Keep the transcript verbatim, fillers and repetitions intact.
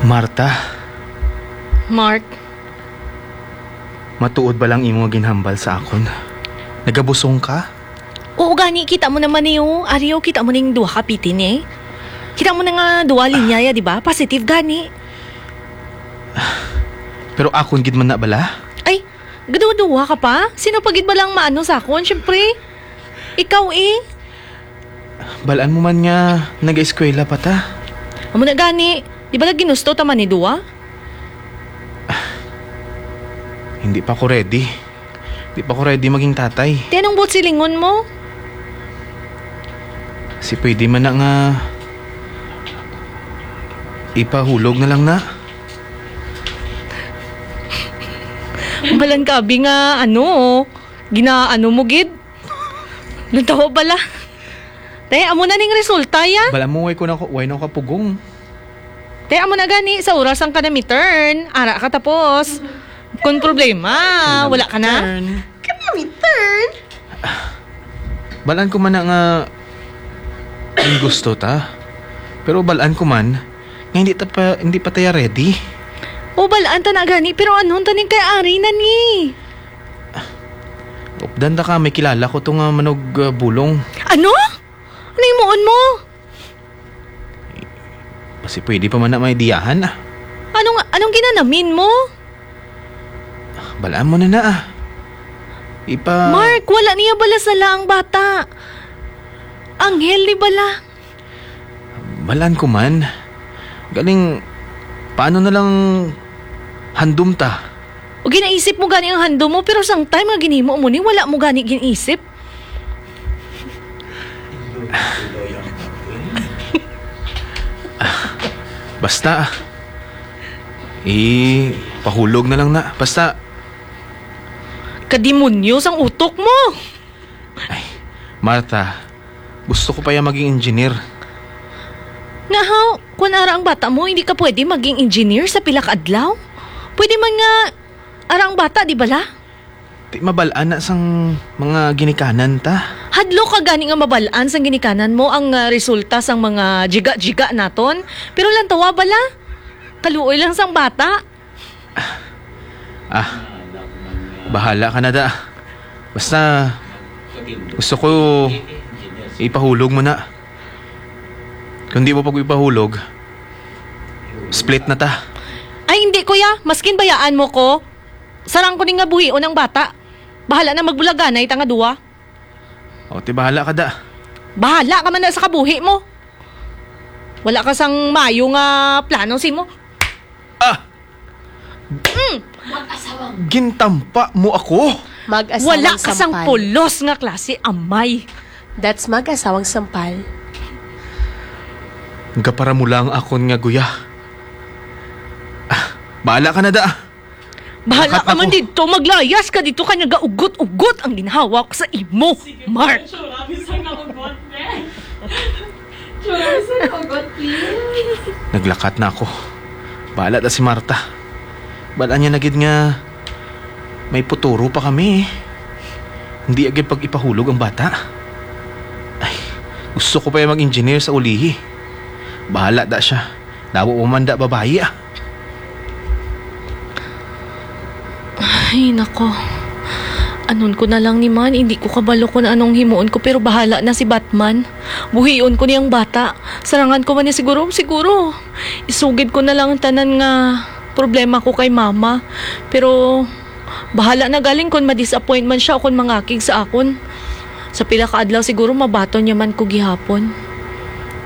Marta, Mark, matuod ba lang imo nga ginhambal sa akon? Nagabusong ka? Oo gani, kita mo naman ni, oh. Ari, oh, kita mo ning duha ka piti ni, eh. Kita mo na nga duha linya ya, di ba? Positive gani. Pero akon gid man na bala? Ay, gaduha-duha ka pa? Sino pa gid ba lang maano sa akon? Siyempre, ikaw, eh. Balaan mo man nga nag-eskwela pa ta. Amo na gani, di ba lang ginusto ta man ni duha? Hindi pa ko ready. Di pa ko ready maging tatay. Ti anong buot silingon mo? Si pwede man na nga ipahulog na lang na. Balan ka, abi, nga ano, ginaano mo gid? Natawa bala. Te, amo na ning resulta, ya. Bala mo, way ko na, way na ko kapugong. Te, amo na gani, sa oras ang ka na mi-turn. Ara ka tapos. Kung problema, wala ka na. Turn. Ka na mi-turn? Balaan ko man na nga ang gusto ta. Pero balaan ko man nga hindi ta pa, hindi pa taya ready. O, balaan ta na gani, pero anhon ta ning kay ari na ni? Updan ta ka, may kilala ko to nga manog, ah, bulong. Ano? Ano himuon mo? Basi pwede pa man na may diyahan, ah. Anong, anong ginanamin mo? Balaan mo na na, ah. Ipa- Mark, wala niya bala sala ang bata. Anghel ni bala. Balaan ko man. Galing, paano na lang handom ta? O ginaisip mo gani ang handom mo, pero sang time nga ginhimo mo ni, wala mo gani ginaisip. Basta, ipahulog na lang na. Basta. Kadimonyo sang utok mo! Ay, Martha, gusto ko pa ya maging engineer. Nga haw, kung ara ang bata mo, hindi ka pwede maging engineer sa pila ka adlaw? Pwede man nga ara ang bata, di bala? Di mabal-an na sang mga ginikanan ta. Hadlok ka gani nga mabal-an sang ginikanan mo ang, ah, resulta sang mga jiga-jiga naton. Pero lantawa bala, kaluoy lang sang bata. Ah, bahala ka na da. Basta, gusto ko ipahulog mo na. Kung di mo pag ipahulog, split na ta. Ay, hindi, kuya. Maskin bayaan mo ko, sarang ko ni nga buhion ang bata. Bahala na magbulaganay ta nga duwa. O, ti bahala ka da. Bahala ka man na sa kabuhi mo. Wala ka sang mayo nga plano simo. Ah! Mm. Gintampa mo ako? Mag-asawang Wala ka sang sampal. Pulos nga klase, amay. That's mag-asawang sampal. Gapara mo lang akon nga guya. Ah, bahala ka na da. Bahala Lakat ka man ako. Dito, maglayas ka dito, kay nagaugot-ugot ang ginhawa ko sa imo, Mark. Tsura, bisan na ugot, eh. Tsura, bisan na ugot, please. Naglakat na ako. Bahala ta si Marta. Bahala niya na gid nga may puturo pa kami, eh. Hindi agad pag ipahulog ang bata. Ay, gusto ko pa yung mag-engineer sa ulihi. Bahala da siya. Dawa pa man da babayi, ah. Ay, nako. Anon ko na lang ni man, hindi ko kabalo kung anong himuon ko, pero bahala na si Batman. Buhion ko niyang bata. Sarangan ko man niya siguro, siguro. Isugid ko na lang ang tanan nga problema ko kay mama. Pero bahala na galing kung ma-disappoint man siya o kung mangakig sa akon. Sa pila ka adlaw siguro mabaton niya man ko gihapon.